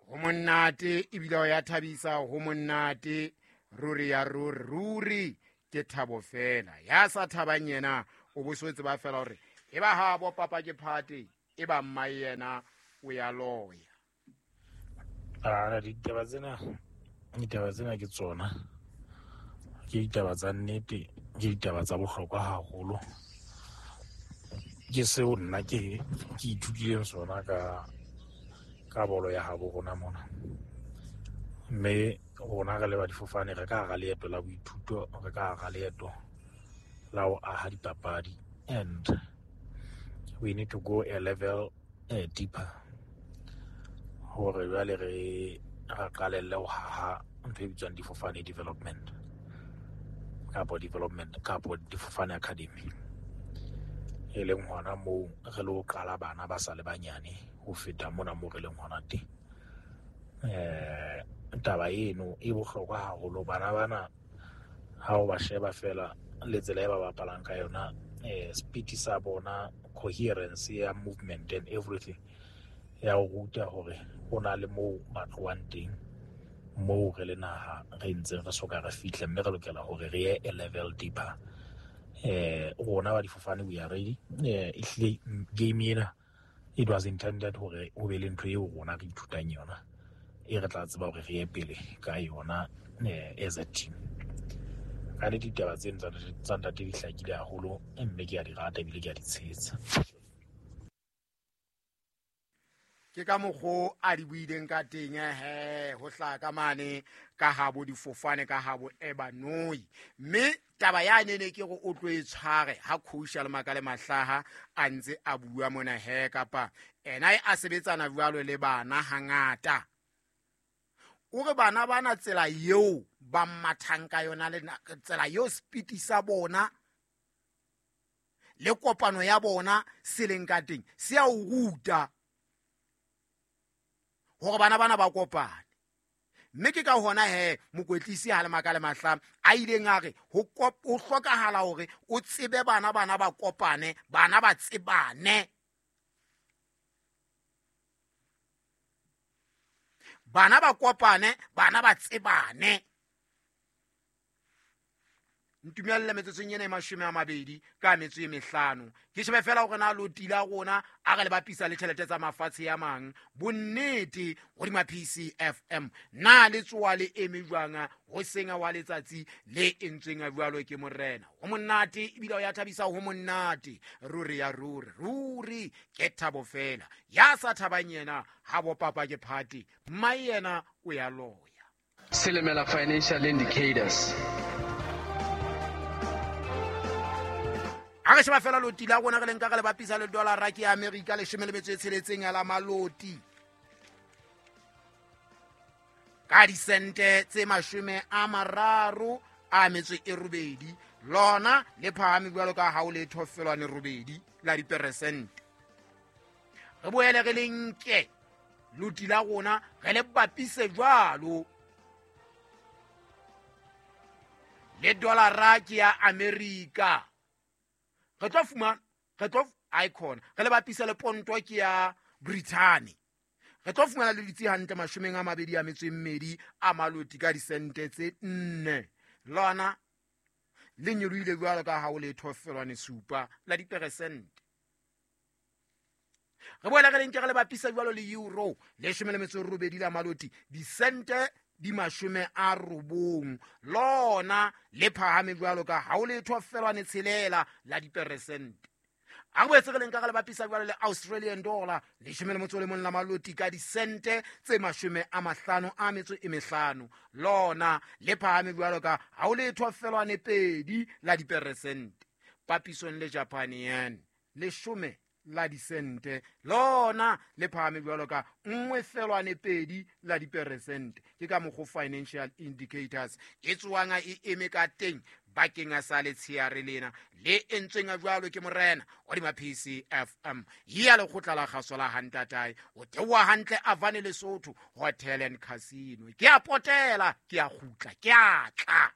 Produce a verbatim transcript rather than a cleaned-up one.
Ho monate ebile o ya thabisa, ho monate ruri ya ruri, ruri ke thabo fela. Ya sa thabang yena o bo so tseba fela hore e ba ha bo papa ke phate, e ba mma yena o ya loya. Ah, ditaba tsena, ditaba tsena ke tsona. Ke ditaba tsa nnete, ke ditaba tsa bohlokwa haholo. Ke seo nna ke ke ithutileng sona ka ka bolo ya habo rona mona. Mme rona re le ba difofane re ka hara leeto la boithuto, re ka hara leeto la ho aha dipapadi, and we need to go a level uh, deeper hore jwale re re qalelle ho haha ntho e bitswang difofane development kapo development kapo difofane academy, e leng hona moo re lo qala bana ba sa le banyane ho feta mona moo re leng hona teng. Eh, taba eno e bohlokwa haholo. Bana bana ha o ba sheba fela le tsela e ba bapalang ka yona, eh, speed sa bona, coherence ya movement and everything, ya o ruta hore ho na le moo ba tlohang teng, moo re le naha re ntseng re soka re fihla, mme re lokela hore re ye a level deeper. Eh, rona ba difofane we are ready. Eh, ehlile game ena it was intended hore ho be le ntho eo rona re ithutang yona, e re tla tseba hore re ye pele ka yona, eh, as a team. Ka le ditaba tseno tsa tsa ntate di hlakile haholo, mme ke a di rata ebile ke a di tshehetsa. Ke ka mokgo a di buileng ka teng, he, ho hlaha ka mane ka habo difofane, ka habo Ebanoi. Mme taba ya nene ke hore o tlo e tshware ha coach a le Makale Mahlaha a ntse a bua mona, he, kapa ena a sebetsana jwalo le bana hangata. O re bana bana tsela eo ba mathang ka yona le tsela eo speed sa bona le kopano ya bona se leng ka teng, se a o ruta hore bana bana ba kopane. Mme ke ka hona he mokwetlisi ha le Makale Mahlaha a ileng a re ho kop-, ho hlokahala hore o tsebe bana bana ba kopane, bana ba tsebane. Bana ba kopane, bana ba tsebane. Ntumelle metsotsong ena e mashome a mabedi ka metso e mehlano. Ke shebe fela hore na loti la rona a re le bapisa le tjhelete tsa mafatshe a mang. Bonnete hodima P C F M na le tsoa le eme jwang ho senga wa letsatsi le entsweng a jwalo ke morena. Ho monate ebile o ya thabisa, ho monate ruri ya ruri, ruri ke thabo fela. Ya sa thabang yena ha bo papa ke phate, mma yena o ya loya. Silimela Financial Indicators. Ha re sheba fela loti la rona re le nka re le bapisa le dollar ke ya Amerika leshome le metso e tsheletseng ya la maloti ka disente tse mashome a mararo a metso e robedi, lona le phahame jwalo ka ha o le thofelwane robedi la diperesente. Re boele re le nke loti la rona re le bapise jwalo le dollar ke ya Amerika. Re tlo fumana, re tlo icon, re le bapisa le ponto ke ya Britain. Re tlo fumana le ditsi hantle mashomeng a mabedi a metso e mmedi a maloti ka disente tse nne. Lona le nyolohile jwalo ka ha o le thofelwane supa la diperesente. Re boela re le nke re le bapisa jwalo le euro leshome le metso e robedi la maloti disente di mashome a robong, lona le phahame jwalo ka ha o le thofelwane tshelela la diperesente. A re boetse re le nka re le bapisa jwalo le Australian dollar leshome le motso o le mong la maloti ka disente tse mashome a mahlano a metso e mehlano, lona le phahame jwalo ka ha o le thofelwane pedi la diperesente. Papisong le Japan yen leshome la disente, lona le phahame jwalo ka nngwe felwane pedi la diperesente. Ke ka mokgo Financial Indicators e tswang e eme ka teng bakeng a sa letsheare lena le entsweng a jwalo ke morena hodima P C F M ya lekgotla la kgaso la Hantatae. O theoha hantle Avane Lesotho Hotel and Casino. Ke a potela, ke a kgutla, ke a tla.